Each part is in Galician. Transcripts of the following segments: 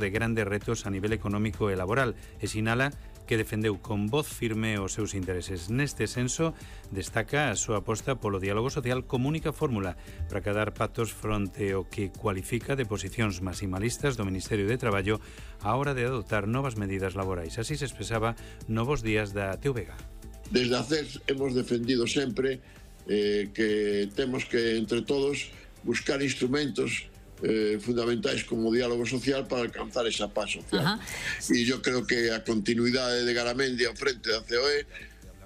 de grandes retos a nivel económico e laboral e sinala que defendeu con voz firme os seus intereses. Neste senso, destaca a súa aposta polo diálogo social como única fórmula para cadar pactos fronte ao que cualifica de posicións maximalistas do Ministerio de Traballo á hora de adoptar novas medidas laborais. Así se expresaba novos días da TVG. Desde a CES hemos defendido sempre que temos que, entre todos, buscar instrumentos fundamentais como o diálogo social para alcanzar esa paz social. E yo creo que a continuidade de Garamendi ao frente da COE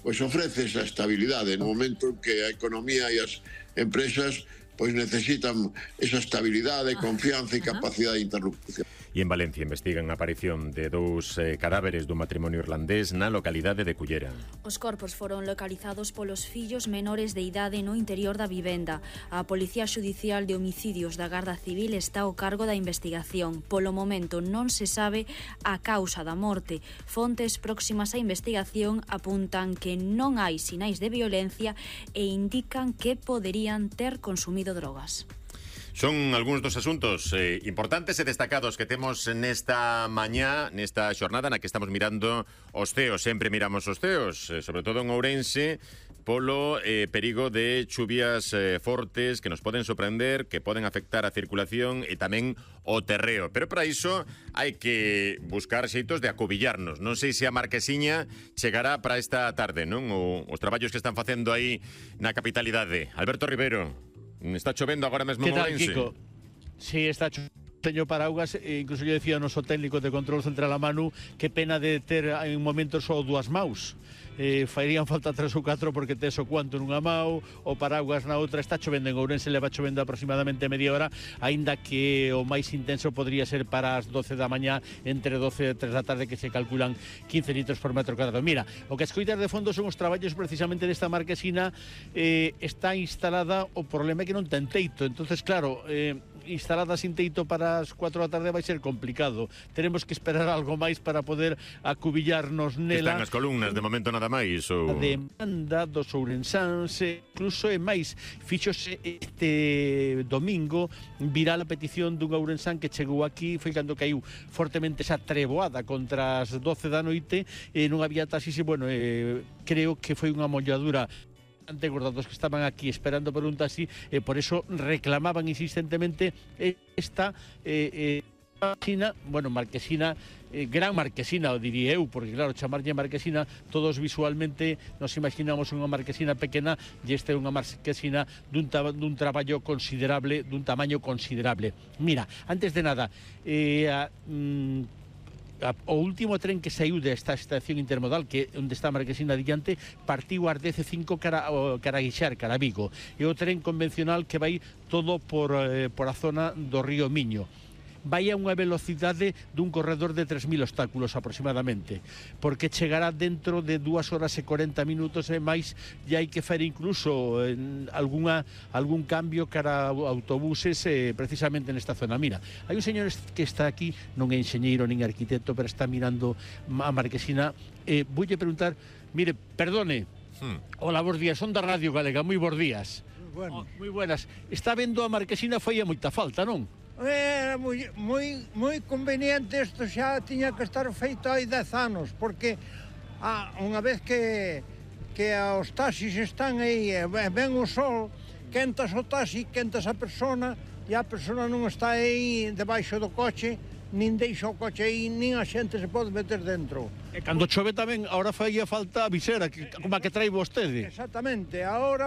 pois ofrece esa estabilidade no momento en que a economía e as empresas pois necesitan esa estabilidade, confianza e capacidade de interlocución. E en Valencia investigan a aparición de dous cadáveres dun matrimonio irlandés na localidade de Cullera. Os corpos foron localizados polos fillos menores de idade no interior da vivenda. A Policía Xudicial de Homicidios da Garda Civil está ao cargo da investigación. Polo momento non se sabe a causa da morte. Fontes próximas á investigación apuntan que non hai sinais de violencia e indican que poderían ter consumido drogas. Son algúns dos asuntos importantes e destacados que temos nesta mañá, nesta xornada na que estamos mirando os ceos. Sempre miramos os ceos, sobre todo en Ourense, polo perigo de chuvias fortes que nos poden sorprender, que poden afectar a circulación e tamén o terreo. Pero para iso hai que buscar xeitos de acubillarnos. Non sei se a Marquesiña chegará para esta tarde, non? Os traballos que están facendo aí na capitalidade. Alberto Rivero, está chovendo agora mesmo en Ourense. Kiko? Sí, está chovendo. Teño paraugas, incluso yo decía o noso técnico de control central a Manu, que pena de ter en momentos só dúas maus. Farían falta 3 ou 4 porque tes o cuanto nunha mau, o paraugas na outra. Está chovendo en Ourense, leva chovendo aproximadamente media hora, aínda que o máis intenso podría ser para as 12 da mañá, entre 12 e 3 da tarde, que se calculan 15 litros por metro cuadrado. Mira, o que escoitas de fondo son os traballos precisamente desta marquesina. Está instalada, o problema é que non ten teito, entonces claro, instalada sin teito para as 4 da tarde vai ser complicado. Teremos que esperar algo máis para poder acubillarnos nela. Están as columnas, de momento nada máis. A demanda dos ourensáns, incluso e máis, fíxose este domingo viral a petición dun ourensán que chegou aquí, foi cando caiu fortemente esa treboada contra as 12 da noite, e non había taxis, e bueno, creo que foi unha molladura ante gordados que estaban aquí esperando por un taxi, e por eso reclamaban insistentemente esta marquesina, bueno, marquesina, gran marquesina, o diría eu, porque claro, chamarlle marquesina, todos visualmente nos imaginamos unha marquesina pequena, e esta é unha marquesina dun traballo considerable, dun tamaño considerable. Mira, antes de nada, o último tren que saiu desta estación intermodal, que onde está a Marquesina adiante, partiu ás 10:05 cara a Guixar, cara a Vigo, e o tren convencional que vai todo por a zona do río Miño. Vai a unha velocidade dun corredor de 3.000 obstáculos aproximadamente, porque chegará dentro de 2 horas e 40 minutos e máis, e hai que fer incluso algún cambio cara a autobuses precisamente nesta zona. Mira, hai un señor que está aquí, non é enxeñeiro nin arquitecto, pero está mirando a Marquesina. Voulle preguntar, mire, perdone, hola, bons días, son da Radio Galega, moi bons días. Moi buenas. Está vendo a Marquesina, foi a moita falta, non? Era moi conveniente, isto xa tiña que estar feito hai 10 anos, porque unha vez que os taxis están aí, ven o sol, quentas o taxi, quentas a persona, e a persona non está aí debaixo do coche, nin deixa o coche aí, nin a xente se pode meter dentro. E cando chove tamén, agora faía falta a visera, como a que trai vostede. Exactamente, agora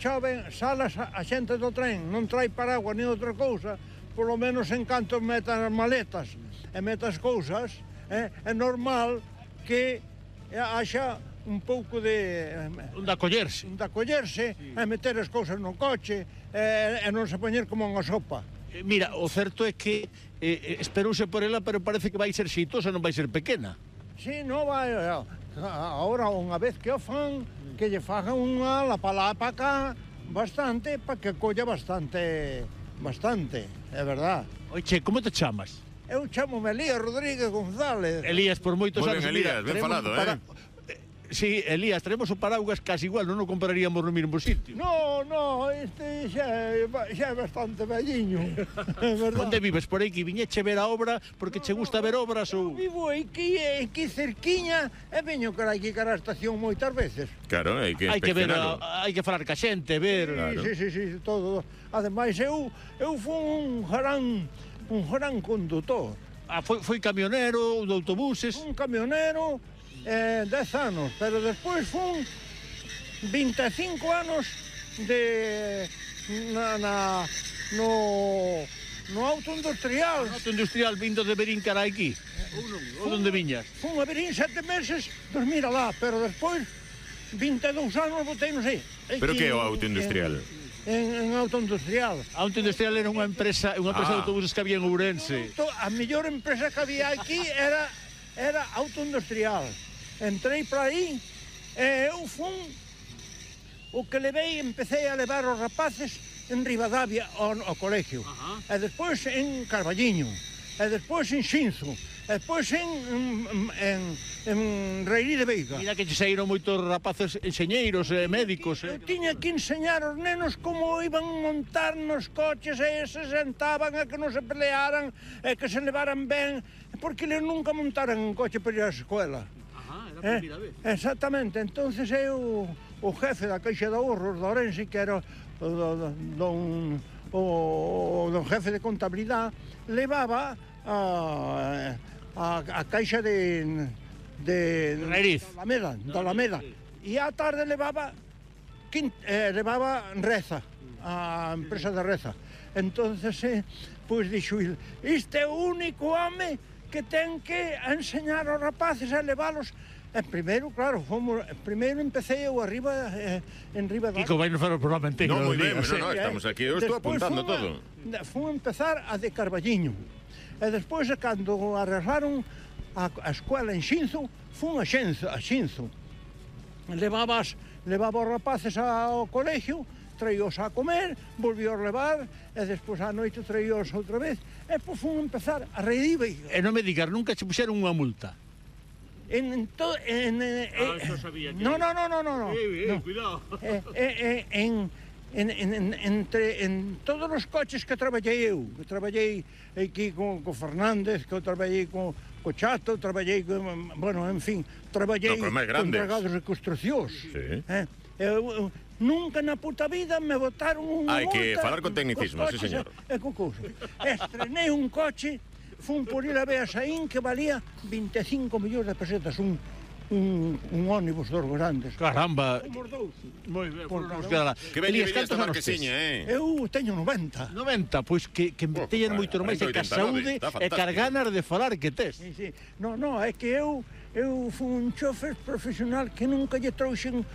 chove, salas a xente do tren, non trai paraguas nin outra cousa, polo menos en canto meta as maletas e meta as cousas, é normal que haxa un pouco de... Un de acollerse. E meter as cousas no coche e non se poñer como unha sopa. Mira, o certo é que esperouse por ela, pero parece que vai ser xeitosa, non vai ser pequena. Sí, non vai... Agora, unha vez que o fan, que lle fagan unha la para cá bastante, para que colla bastante, é verdad. Oiche, como te chamas? Eu chamo-me Elías Rodríguez González. Elías, por moitos anos. Elías, ben falado, Sí, Elías, traemos o paraugas casi igual, non o compraríamos no mesmo sitio. No, este xa é bastante velliño. Onde vives? Por aí que viñeche ver a obra porque che gusta ver obras ou... Vivo aquí cerquiña e veño cara aquí cara a estación moitas veces. Claro, hai que ver, inspeccionalo. hai que falar ca xente, ver... Claro. Sí, todo. Ademais, eu fui un gran condutor. Foi camionero de autobuses. Un camionero 10 anos, pero despois fun 25 anos no auto industrial. Auto industrial vindo de Berín cara aquí. Ou onde viñas? Fun a Berín 7 meses, dormir alá, pero despois 22 anos botei, non sei. Pero que é o auto industrial? En auto industrial. Auto industrial era unha empresa de autobuses que había en Ourense. A mellor empresa que había aquí era auto industrial. Entrei para aí e eu fun o que empecé a levar os rapaces en Ribadavia ao colegio. E despois en Carballiño, e despois en Xinzo, e despois en Reirí de Veiga. Mira que che saíron moitos rapaces enxeñeiros, médicos. Eu tiña que enseñar aos nenos como iban montar nos coches e se sentaban e que non se pelearan e que se levaran ben, porque eles nunca montaran un coche para ir á escola. Era a primeira vez. Exactamente, entonces eu o jefe da Caixa de Ahorros de Ourense, que era o jefe de contabilidade, levaba a Caixa de Alameda. E á tarde levaba Reza, a empresa de Reza. Entonces, pois dixo, este é o único home que ten que enseñar aos rapaces a leválos. Primeiro, claro, primeiro empecé eu arriba, en Ribadavia. Kiko, vai nos falar o programa inteiro. No, moi ben, estamos aquí, eu estou apuntando todo. Fui empezar a de Carballiño. E despois, cando arreglaron a escola en Xinzo, fun a Xinzo. Levaba os rapaces ao colegio, traíos a comer, volvíos levar, e despois á noite traíos outra vez, e pois fun empezar a Reirí. E non me digas, nunca che puxeron unha multa? Eso sabía que... No. Cuidado. En todos os coches que traballei eu, que traballei aquí con Fernández, que eu traballei con Chato, traballei con, bueno, en fin, traballei con dragados de construcións. Sí. Eu nunca na puta vida me botaron unha multa. Hai que falar con tecnicismo, sí, señor. Estrenei un coche, fun por ir a ver a Saín, que valía 25 millóns de pesetas, un ónibus dos grandes. Caramba. Somos dous. Moi ben, que veñe esta marquesiña, Eu teño 90. 90, pois que teñen moito máis de que a saúde e carganas de falar que tes. Sí. No, é que eu fui un chofer profesional que nunca lle trouxen.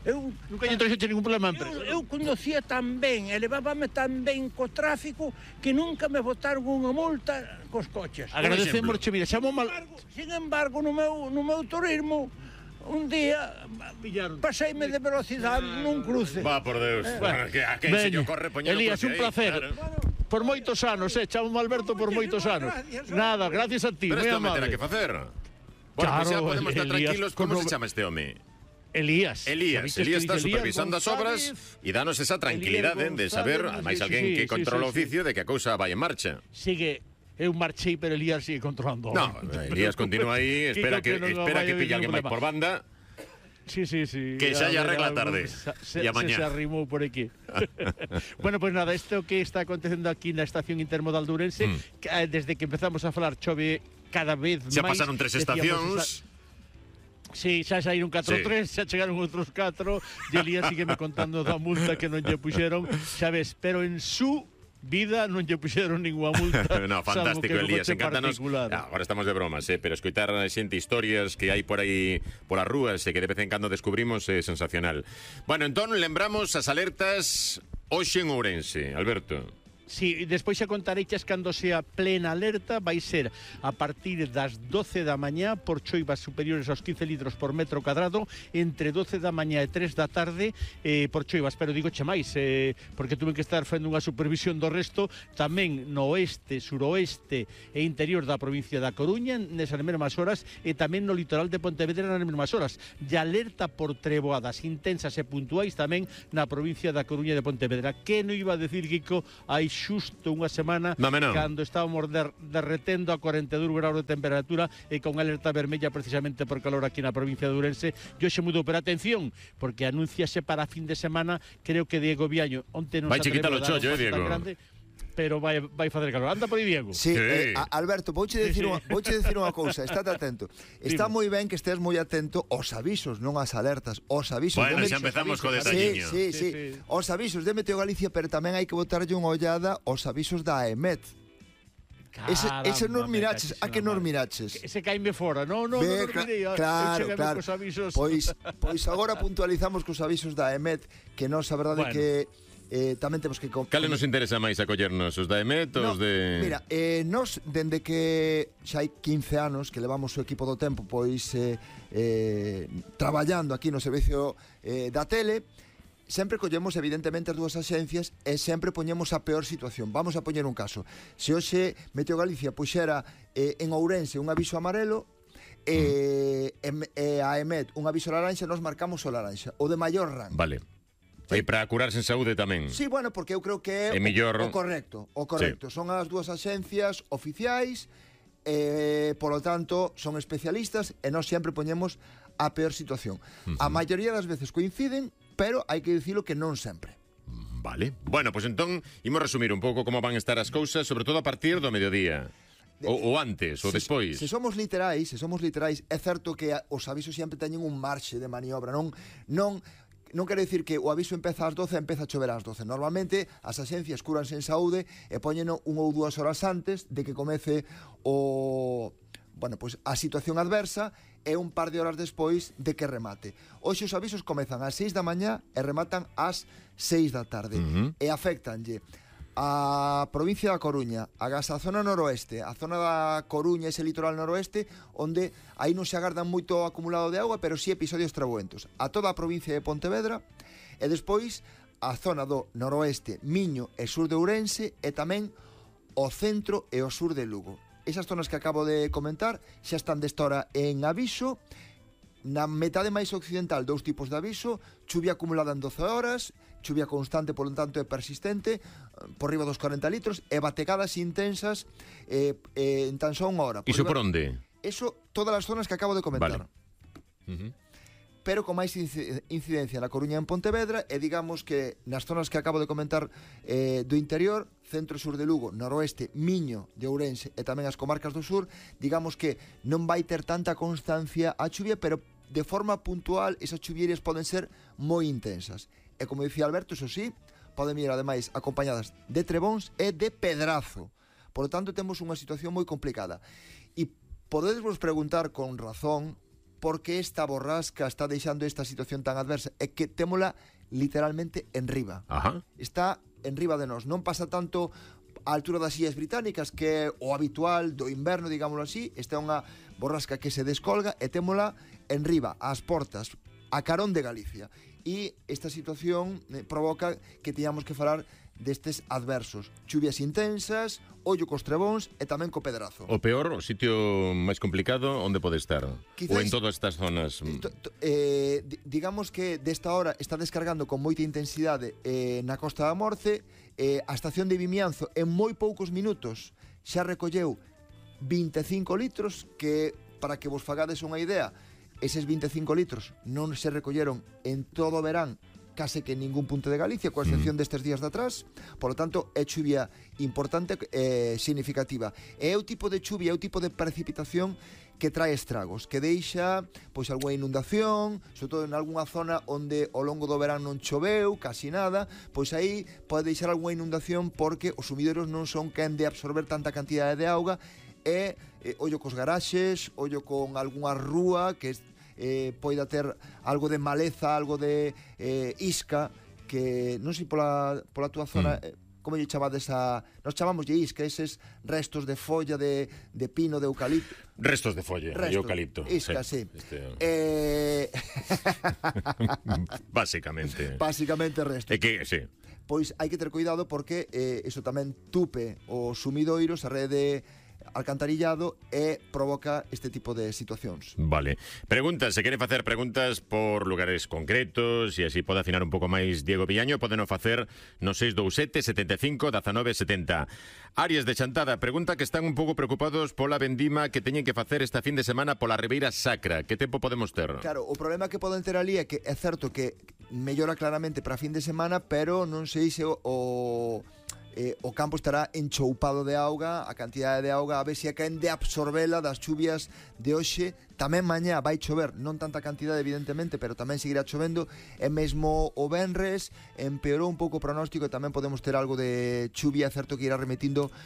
Nunca lle trouxen ningún problema a empresa. Eu conducía tan ben, elevábame tan ben co tráfico que nunca me botaron unha multa cos coches. Agradecemos, mira, xamo mal... Sin embargo, no meu turismo, un día paseime de velocidade nun cruce. Va, por Deus. A quen se lle ocorre poñer o Elías, un placer. Por moitos anos, chamo Alberto por moitos anos. Nada, gracias a ti, pero moi isto me terá amable. que facer. Bueno, pues xa podemos estar tranquilos. Como se chama este home? Elías está supervisando as obras e danos esa tranquilidade de saber, ademais alguén que controla o oficio, de que a cousa vai en marcha. Sigue, eu marchei, pero Elías sigue controlando. No, Elías continúa aí, espera que pilla alguén máis por banda. Sí. Que xa lle arregla tarde. E a mañá. Se arrimou por aquí. Bueno, pues nada, isto que está acontecendo aquí na estación intermodal de Ourense, desde que empezamos a falar chove cada vez máis. Xa pasaron 3 estacións. Sí, xa saíron 4 3, xa chegaron outros 4, e Elías sígueme contando da multa que non lle puxeron, xa ves, pero en su vida non lle puxeron ninguna multa. No, fantástico, Elías, encántanos. Agora estamos de bromas, pero escoitar xente historias que hai por aí polas rúas e que de vez en cando descubrimos é sensacional. Bueno, entón lembramos as alertas hoxe en Ourense, Alberto. Sí, despois xa contareiches cando sea plena alerta, vai ser a partir das 12 da mañá por choivas superiores aos 15 litros por metro cuadrado, entre 12 da mañá e 3 da tarde por choivas, pero digo che máis, porque tuve que estar facendo unha supervisión do resto, tamén no oeste, suroeste e interior da provincia da Coruña nesas mesmas horas e tamén no litoral de Pontevedra nas mesmas horas. E alerta por treboadas intensas e puntuais tamén na provincia da Coruña e de Pontevedra. Que non iba a decir, Kiko, hai xusto unha semana cando estábamos derretendo a 42 graus de temperatura e con alerta vermella precisamente por calor aquí na provincia de Ourense. Yo xe mudou, pero atención, porque anúnciase para fin de semana, creo que Diego Viaño onte non vai chiquitar o chollo, Diego. Pero vai facer calor. Anda por aí, Diego. Sí, Alberto, vouche decir unha cousa, estate atento. Está moi ben que estés moi atento aos avisos, non ás alertas, aos avisos. Bueno, xa empezamos co detalliño. Sí. Aos avisos de Meteo Galicia, pero tamén hai que botarlle unha ollada aos avisos da AEMET. Ese non miraches, a que non miraches? Ese caime fora, non mirei. Claro. Pois agora puntualizamos cos avisos da AEMET, que nos a verdade que tamén temos que... Cale nos interesa máis acollernos, os da EMET ou os de... Mira, nos, dende que xa hai 15 anos que levamos o equipo do tempo pois traballando aquí no servicio da tele, sempre collemos evidentemente as dúas axencias e sempre poñemos a peor situación. Vamos a poñer un caso. Se hoxe Meteo Galicia puxera en Ourense un aviso amarelo, e a EMET un aviso laranxa, nos marcamos o laranxa, o de maior rango. Vale. E para curarse en saúde tamén. Sí, bueno, porque eu creo que é o correcto. Sí. Son as dúas axencias oficiais, polo tanto, son especialistas e nós sempre poñemos a peor situación. A maioría das veces coinciden, pero hai que dicilo que non sempre. Vale. Bueno, pois entón, imos resumir un pouco como van estar as cousas, sobre todo a partir do mediodía. Ou antes, ou despois. Se somos literais, é certo que os avisos sempre teñen un marxe de maniobra, non quere dicir que o aviso empeza ás 12 e empeza a chover ás 12. Normalmente as axencias cúranse en saúde e poñeno 1 ou 2 horas antes de que comece a situación adversa e un par de horas despois de que remate. Hoxe os avisos comezan ás 6 da mañá e rematan ás 6 da tarde. E afectanlle a provincia da Coruña, a zona noroeste, a zona da Coruña, ese litoral noroeste, onde aí non se agardan moito acumulado de auga, pero sí episodios trabuentos. A toda a provincia de Pontevedra, e despois a zona do noroeste, Miño e sur de Ourense, e tamén o centro e o sur de Lugo. Esas zonas que acabo de comentar xa están desta hora en aviso. Na metade máis occidental, 2 tipos de aviso: chuvia acumulada en 12 horas, chuvia constante, polo tanto é persistente, por riba dos 40 litros, e bategadas intensas en tan só unha hora. Iso por onde? Eso, todas as zonas que acabo de comentar. Vale. Pero con máis incidencia na Coruña e en Pontevedra, e digamos que nas zonas que acabo de comentar do interior, centro e sur de Lugo, noroeste, Miño de Ourense e tamén as comarcas do sur, digamos que non vai ter tanta constancia a chuvia, pero de forma puntual esas chuvierias poden ser moi intensas. E como dicía Alberto, eso sí, poden ir ademais acompañadas de trebóns e de pedrazo. Por lo tanto, temos unha situación moi complicada. E podedesvos preguntar con razón por que esta borrasca está deixando esta situación tan adversa. É que témola literalmente en riba. Está en riba de nós. Non pasa tanto a altura das Illas Británicas, que é o habitual do inverno, digámoslo así. Esta é unha borrasca que se descolga e témola en riba, ás portas, a carón de Galicia. E esta situación provoca que teñamos que falar destes adversos. Chuvias intensas, ollo cos trebóns e tamén co pedrazo. O peor, o sitio máis complicado, onde pode estar? Quizás, ou en todas estas zonas? Digamos que desta hora está descargando con moita intensidade na Costa da Morte. A estación de Vimianzo en moi poucos minutos xa recolleu 25 litros, que, para que vos fagades unha idea, eses 25 litros non se recolleron en todo o verán case que en ningún punto de Galicia, coa excepción destes días de atrás. Por lo tanto, é chuvia importante e significativa. É o tipo de chuvia, é o tipo de precipitación que trae estragos, que deixa pois algunha inundación, sobre todo en algunha zona onde ao longo do verán non choveu, casi nada, pois aí pode deixar algunha inundación porque os sumideros non son quen de absorber tanta cantidade de auga, e ollo cos garaxes, ollo con algunha rúa que poida ter algo de maleza, algo de isca, que non sei pola túa zona como lle chamades a... Nos chamamos isca, eses restos de folla de pino, de eucalipto. Restos de folla e eucalipto. Isca, sí. Básicamente. Básicamente restos. É que, sí. Pois hai que ter cuidado porque iso tamén tupe os sumidoiros, a rede alcantarillado e provoca este tipo de situacións. Vale. Preguntas, se quere facer preguntas por lugares concretos e así pode afinar un pouco máis Diego Villaño, podeno facer no 627 75 19 70. Arias de Chantada, pregunta que están un pouco preocupados pola vendima que teñen que facer esta fin de semana pola Ribeira Sacra. Que tempo podemos ter? Claro, o problema que poden ter ali é que é certo que mellora claramente para fin de semana, pero non sei se o campo estará enchoupado de auga, a cantidade de auga, a ver se caen de absorbela das chuvias de hoxe. Tamén mañá vai chover, non tanta cantidade evidentemente, pero tamén seguirá chovendo, e mesmo o venres empeorou un pouco o pronóstico e tamén podemos ter algo de chuvia, certo que irá remetindo